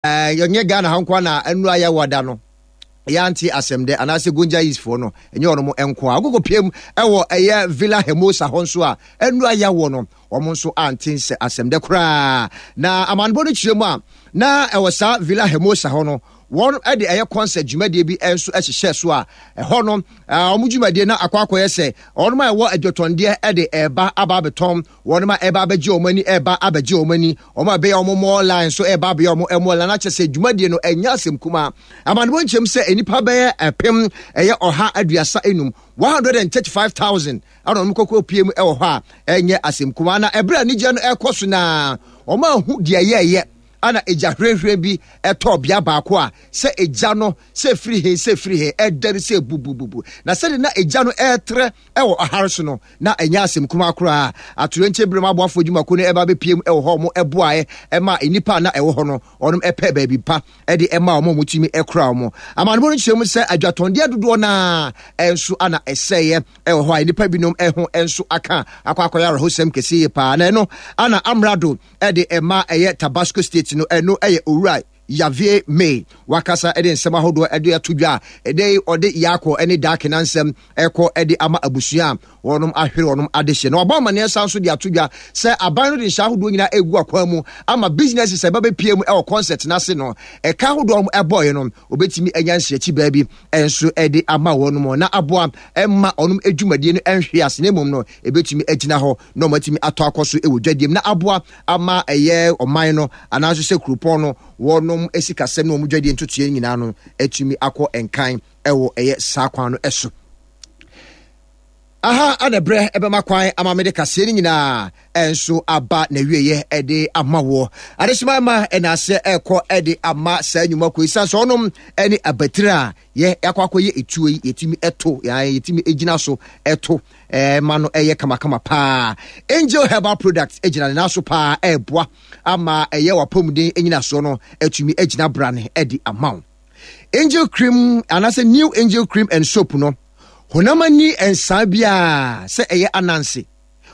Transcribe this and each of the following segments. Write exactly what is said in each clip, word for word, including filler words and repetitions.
Ɛnyɛ Ghana ha nko na ɛnu ayɛ wada no yɛante asɛm dɛ anaasɛ Gonja East foɔ no, ɛnyɛ ɔnom nko a wokɔkɔ piem ɛwɔ ɛyɛ Villa Hermosa hɔ nso a ɛnu ayɛ wɔ no, wɔn nso ante sɛ asɛm dɛ koraa. Na amanebɔ no kyerɛ mu a, na ɛwɔ saa Villa Hermosa hɔ no, wɔn de ɛyɛ concert dwumadie bi nso hyehyɛ so a ɛhɔ no wɔn dwumadie na akɔ akɔyɛ sɛ wɔn a ɛwɔ adwatɔndeɛ de ɛreba aba abɛtɔn, wɔn a ɛreba abɛgye wɔn ani ɛreba abɛgye wɔn ani, wɔn a ɛbɛyɛ wɔn mall line nso ɛreba abɛyɛ wɔn mall line. Akyɛ sɛ dwumadie no ɛnyɛ asɛm kumaa. Amanebɔ nkyɛm sɛ nnipa bɛyɛ ɛpem ɛyɛ ɔha aduasa enum, one hundred and thirty-five thousand, ɛna wɔn kɔkɔ pie mu ɛwɔ hɔ a ɛnyɛ asɛm kumaa. Na ɛberɛ a anigyeɛ no ɛrekɔ so naa, wɔn ahu deɛ yɛɛyɛ ana egya hwehwɛ bi ɛtɔ bea baako a sɛ egya no sɛ firi he sɛ firi he ɛdɛre sɛ bubububu. Na sɛde na egya no ɛɛtrɛ ɛwɔ ɔhare so no, na ɛnyɛ asɛm kumaa koraa. Atoyerɛnkyɛm binom aboafoɔ dwumakuo no ɛba bɛpie mu ɛwɔ hɔ, ɔmo ɛboaeɛ ɛma nnipa a na ɛwɔ hɔ no, ɔnom ɛpɛ baabi pa ɛde ɛma ɔmo a ɔmo ɛkora ɔmo. Amanebɔ no kyerɛ mu sɛ adwatɔndeɛ dodoɔ naa ɛnso ana ɛsɛeɛ ɛwɔ hɔ a nnipa binom ɛho ɛnso aka akɔ akɔyɛ awerɛhosɛm kɛseɛ yie paa. Na ɛno ana amrado ɛde ɛma ɛyɛ Tabasco State no, ɛno ɛyɛ Owura Javier May, wakasa ɛde nsɛm ahodoɔ ɛde ato dwa a ɛdɛ ɔde yaakɔ ɛne daake nansɛm ɛkɔ ɛde ama abusua a wɔnom ahwere wɔnom adehyɛ. Na wabɔ amanneɛ san so de ato dwa sɛ aban no de nhyɛ ahodoɔ nyinaa egu akwan mu ama businesses a ɛba bɛpie mu ɛwɔ concert n'ase no, ɛka ahodoɔ a ɛbɔɔyɛ no, obetumi anya nhyɛkyi baabi ɛnso ɛde ama wɔnom na aboa ɛma ɔnom adwumadie no ɛnhwe ase, na mmom no ebetumi agyina hɔ na wɔn atumi atɔ akɔ so ɛwɔ dwadiem na aboa ama ɛyɛ ɔman no anaasɛ sɛ kuropɔn no wɔnom esikasɛm ne wɔn dwadie ntotoeɛ nyinaa no atumi akɔ nkan ɛwɔ ɛyɛ saa kwan no ɛso. Aha ana berɛ ɛbɛma kwan ama mede kaseɛ no nyinaa ɛnso aba n'awieɛ ɛde ama woɔ. Adehyema ma ɛna aseɛ ɛrekɔ ɛde ama saa nnwuma kɔ esiane sɛ ɔnom ɛne abatire a yɛ yɛakɔ akɔyɛ etuo yi, yɛtumi ɛto yɛn, yɛtumi egyina so ɛto ɛɛ ma no ɛyɛ kamakama paa. Angel Herbal Products egyina ne nan so paa ɛɛboa ama ɛyɛ wapɔmuden enyinasoɔ no ɛtumi egyina brane ɛde ama wo. Angel Cream anaasɛ New Angel Cream and Soap no, honam ani nsaa biara sɛ ɛyɛ ananse,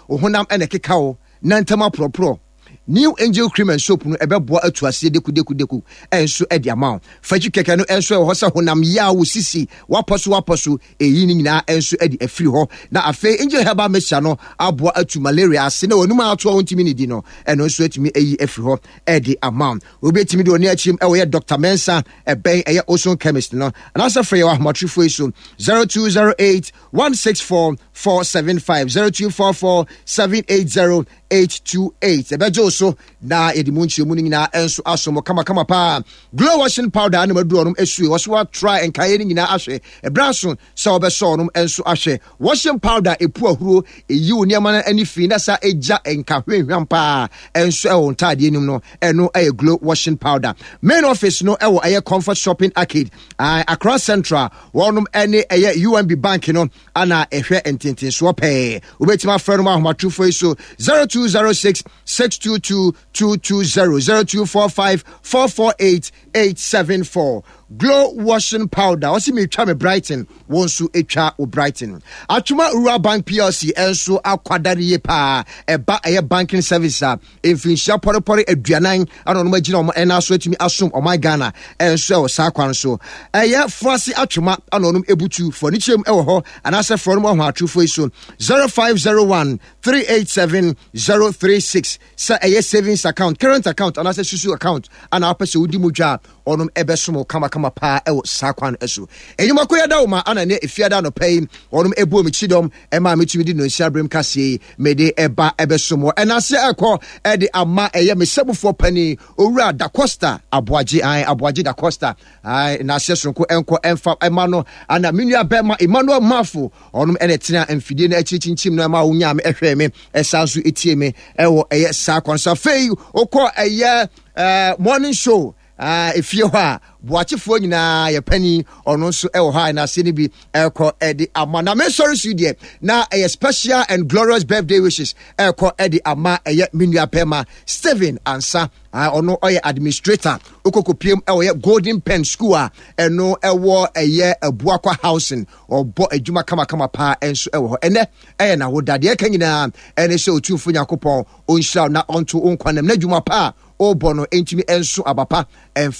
honam ɛna ɛkeka wo na ntam aporɔporɔ, New Angel Cream and Soap no ɛbɛboa atu aseɛ dekudeku ɛnso ɛde ama wo. Fakyi kɛkɛ no ɛnso ɛwɔ hɔ sɛ honam yea wo sisi wapɔ so wapɔ so, ɛyi ne nyinaa ɛnso ɛde afiri hɔ. Na afei Angel Herbal Mixture no aboa atu malaria ase na wɔnum ato a wɔntumi ne di no, ɛno nso atumi ayi afiri hɔ ɛde ama wo. Obi atumi de ɔne akyim ɛwɔ yɛ Doctor Mensa, ɛbɛn ɛyɛ Oson Chemist no, anaasɛ frɛ yɛ wɔ ahomatrofoɔ yi so: zero two zero eight one six four four seven five, zero two four four seven eight zero eight two eight. Ɛbɛgye wo so na yɛde mu nkyerɛmu no nyinaa ɛnso aso mo kamakama paa. Glow washing powder ne maduru ɔnom asue wɔ so atra nkaeɛ no nyinaa ahwɛ. Ɛberɛ aso sɛ wɔbɛsɔ ɔnom nso ahwɛ. Washing powder ɛpu ahuro, ɛyi wo nneɛma no ani fi na sa ɛgya nka hwehwam paa ɛnso ɛwɔ ntaadeɛ nim no, ɛno ɛyɛ Glow washing powder. Main office no ɛwɔ ɛyɛ Comfort Shopping Arcade, Accra Central. Wɔnom ɛne ɛyɛ U M B Bank no ana ɛhwɛ ntentensoɔ pɛɛ. Wobɛtumi afrɛ no mu ahomatorofoɔ yi so: zero two zero six six two two two two zero, zero two four five four four eight eight seven four. Glow washing powder, ɔsi mi twa me brighten, wɔn nso atwa wo brighten. Atwoma Rural Bank P L C ɛnso akwadare yie paa ɛba ɛyɛ banking service a mfinhyia pɔrepɔre aduanan ɛna ɔnom agyina wɔn ɛna so atumi asom ɔman Ghana ɛnso ɛwɔ saa kwan so. Ɛyɛ Foase Atwoma ɛna ɔnom ebutu fɔ ne kyerɛm ɛwɔ hɔ, anaasɛ frɛ ɔnom ɔho atorofo yi so: zero five zero one three eight seven zero three six. Sɛ ɛyɛ savings account, current account anaasɛ susu account ana wopɛ sɛ wodi mu dwa a, ɔnom ɛbɛsom kamakama paa ɛwɔ saa kwan no so. Enyimako yɛ da wo ma ana ne efiada anɔpa yi ɔnom ebu omi kyidɔm ɛma metumi de nonsia berem kaseɛ yi mede ɛba ɛbɛsom wɔ. Ɛnaseɛ ɛkɔ ɛde ama ɛyɛ mesɛmufoɔ panin Owura Da Costa Aboagye an Aboagye Da Costa an naseɛ soronko ɛnkɔ ɛmfa ɛma no. Ana me nua bɛrima Emmanuel Mafo, ɔnom ɛna ɛtena mfidie no akyiri kyinkyim no ɛma wonyaa me ɛhwɛ me ɛsan so ɛtie me ɛwɔ ɛyɛ saa kwan so. Afei wokɔ ɛyɛ ɛɛ morning show efie hɔ a, boakyefoɔ nyinaa yɛ panin, ɔno nso ɛwɔ hɔ a n'ase no bi ɛkɔ ɛde ama. Na mesɔre so deɛ na ɛyɛ special and glorious birthday wishes ɛkɔ ɛde ama ɛyɛ me nua bɛrima Stephen Ansa. Ɔno ɔyɛ administrator okokopiem ɛwɔ yɛ Golden Pen School a ɛno ɛwɔ ɛyɛ Abuakwa Housing. Ɔbɔ adwuma kamakama paa ɛnso ɛwɔ hɔ. Ɛnɛ ɛyɛ n'awoda. Deɛ ɛka nyinaa ɛne sɛ Otumfo Nyankopɔn ɔnhyira na ɔnto wo nkwa nam na adwuma pa a wobɔ no ntumi nso aba pa ɛmfa.